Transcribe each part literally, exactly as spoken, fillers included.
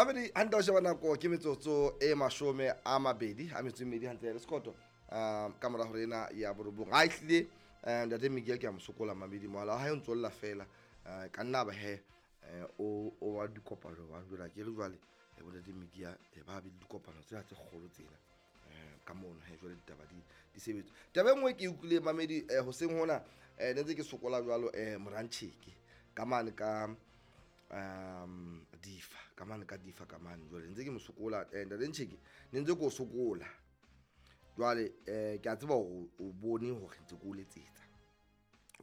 Mamedi hantle o sheba nako ke metsotso e mashome a mabedi a metso e mmedi hantle le sekoto um ka mora hore ena ya borobong. Ha ehlile eh, ntate Miguel ke a mo sokola mamedi, mohala wa hae o ntso lla fela. Eh, ka nna ba he eh, o o wa dikopano ba jwale ke re jwale eh, bo ntate Miguel eh, ba be le dikopano tsena tse kgolo tsena eh, ka mono he jwale ditaba di di sebetsa. Taba e nngwe ke e utlwileng mamedi eh, hoseng hona eh, ne ntse ke sokola jwalo eh, Morantjheke ka mane ka um difa ka mane ka difa ka mane jwale ntse ke mo sokola eh, ntate Ntjheke ne ntse ke o sokola jwale eh, ke a tseba hore o bone hore ntse ke o letsetsa,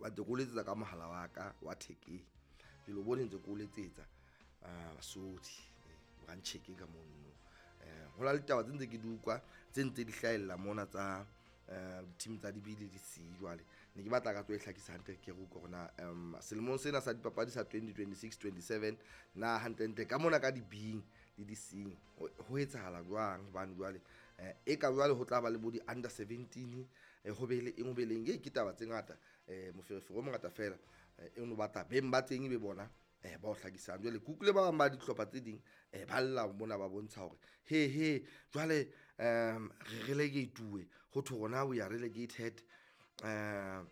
ba ntse ke o letsetsa ka mohala wa ka wa thekeng, jwale o bone ntse ke o letsetsa uh, basodi Morantjheke ka mono. Eh, ho na le ditaba tse ntse ke di utlwa tse ntse di hlahella mona tsa eh, di-team tsa di-B le di-C. Jwale ne ke batla ka tlo e hlakisa hantle ke re utlwe hore na um selemong sena sa dipapadi sa twenty twenty-six twenty-seven na hantlentle ka mona ka di-B le di-C ho ho etsahala jwang, hobane jwale eh, e ka jwale ho tla ba le bo di-under seventeen eh, ho be le eng ho be le eng. Ee, ke taba tse ngata eh, moferefere o mongata fela eh, e no batla beng ba teng ebe bona eh, ba o hlakisang. Jwale ke utlwile ba bang ba dihlopha tse ding eh, ba lla mona ba bontsha hore he he jwale um re relegate-uwe, ho thwe rona we are relegated um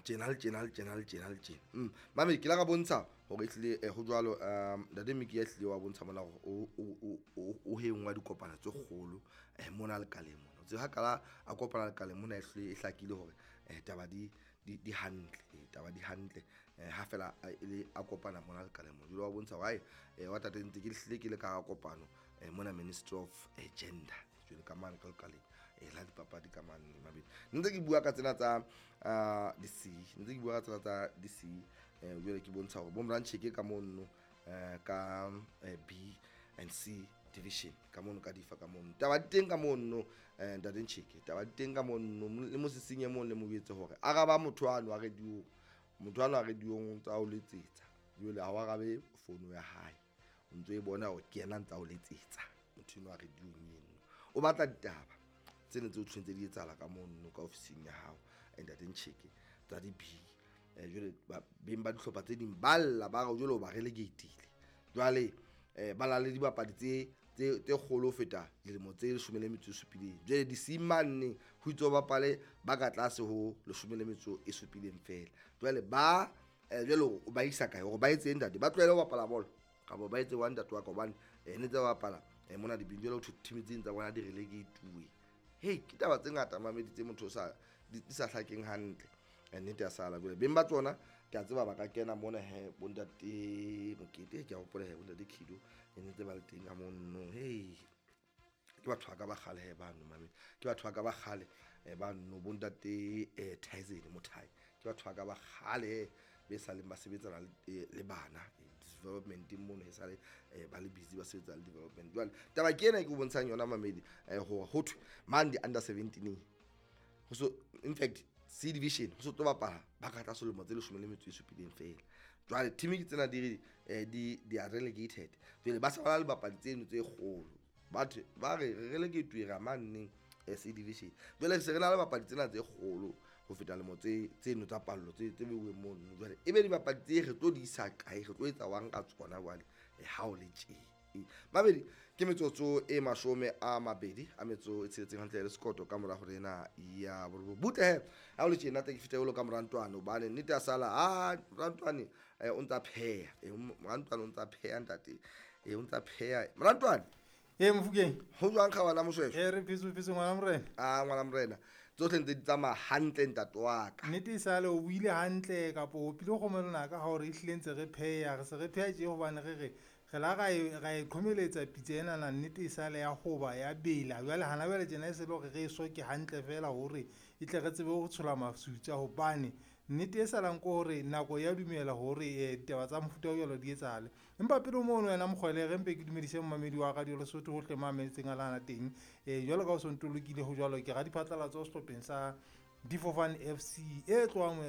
tjena le tjena le tjena le tjena le tjena. Mm. Mamedi ke la ka bontsha hore ehlile eh, ho jwalo um ntate Miki ya ehlile wa bontsha mona hore o o o o he nngwe ya dikopano tse kgolo eh, mona lekaleng mona. O tsebe ha kala a kopana lekaleng mona ehlile e hlakile hore eh, taba di di di hantle, eh, taba di hantle eh, ha fela a e le a kopana mona lekaleng mona. Jwale wa bontsha hore hai eh, wa tate ntse ke hlile ke le ka hara kopano eh, mona Ministry of eh, Gender jwale ka mane ka lekaleng eh, la dipapadi ka mane mabedi. Ntse ke bua ka tsena tsa uh, di-C, ntse ke bua ka tsena tsa di-C eh, jwale ke bontsha hore bo Morantjheke ka mono eh, ka eh, B and C division ka mono ka difa ka mono taba di teng ka mono eh, ntate Ntjheke taba di teng ka mono le mosising e mong le mo jwetse hore araba motho ano a radio, motho ano a radio-ong o ntsa o letsetsa jwale ha o arabe fono ya hae, o ntso e bona hore ke yena a ntsa o letsetsa motho eno a radio-ong eno o batla ditaba tsena tse o tshwanetse di etsahala ka mono ka ofising ya hao eh, ntate Ntjheke tsa di-B eh, jwale ba- beng ba dihlopha tse ding ba lla ba re jwale o ba relegatile jwale eh, ba na le dibapadi tse tse tse kgolo ho feta dilemo tse leshome le metso e supileng. Jwale di-C mane ho itse o bapale ba ka tlase ho leshome le metso e supileng fela. Jwale ba eh, jwale o ba isa kae hore ba etse ntate, ba tlohele ho bapala bolo kapa ba etse wa ntate wa ka, hobane eh, ne tse ba bapala eh, mona dibing jwale ho thwe team tse ding tsa bona di relegate-uwe. Hei, ke taba tse ngata mamedi tse motho o sa di di sa hlakeng hantle. Eh, nnete ya sala jwale beng ba tsona ke a tseba ba ka kena mona he bo ntate Mokete, ke a hopola he bo ntate Khido e ne ntse ba le teng ka mono. Hei, ke batho ba ka ba kgale he bano mamedi, ke batho ba ka ba kgale eh, bano bo ntate eh, Tyson Mothai, ke batho ba ka ba kgale he be saleng ba sebetsana le, eh, le bana eh, development mono he sale eh, ba le busy ba sebetsa le development. Jwale taba ke ena e ke o bontshang yona mamedi eh, hore ho thwe mane di-under seventeen ho so in fact C division ho so tlo bapala ba ka tlase lemo tse leshome le metso e supileng fela. Jwale team ke tsena di re eh, di di are relegated, jwale ba sa ba le bapadi tseno tse kgolo batho ba re re relegate ra maneng eh, C division, jwale se re na le bapadi tsena tse kgolo ho feta lemo tse tseno tsa pallo tse tse beuweng mono. Jwale e be dibapadi tse re tlo di isa kae, re tlo etsa wang ka tsona jwale eh, ha o le tje. Mamedi ke metsotso e mashome a mabedi a metso e tsheletseng hantle le sekoto ka mora hore ena ya borobong. Butle he ha o le tjena tla ke fihla jwalo ka Morantwane hobane nnete ya sala ha Morantwane eh, o ntsa pheha eh, Morantwane o ntsa pheha ntate eh, o ntsa pheha Morantwane. Ee, Mofokeng. Ho jwang kga ngwana Moshweshwe? Ee, re phetse, phetse ngwana morena. Ah, ngwana morena. Tsohle ntse di tsamaya hantle ntate wa ka. Nnete e sale o buile hantle kapo o pile kgomo lenaka ha hore ehlile ntse re pheha, re se re pheha tje hobane re re re la ra e, ra e qhomeletsa pitsa enana, nnete e sale ya hoba ya bela. Jwale hana jwale tjena e se le hore re e soke hantle fela hore e tle re tsebe ho tshola masutsa, hobane nnete e salang ke hore nako ya dumela hore, eh, ditaba tsa mofuta o jwalo di etsahale. Empa pele mono wena Mokgwele, re mpe ke dumedise momamedi wa Radio Lesotho hohle mo a mametseng a lana teng. Eh, jwalo ka o so ntolokile ho jwalo, ke radiphatlalatso sehlopheng sa Difofane F C e tlohang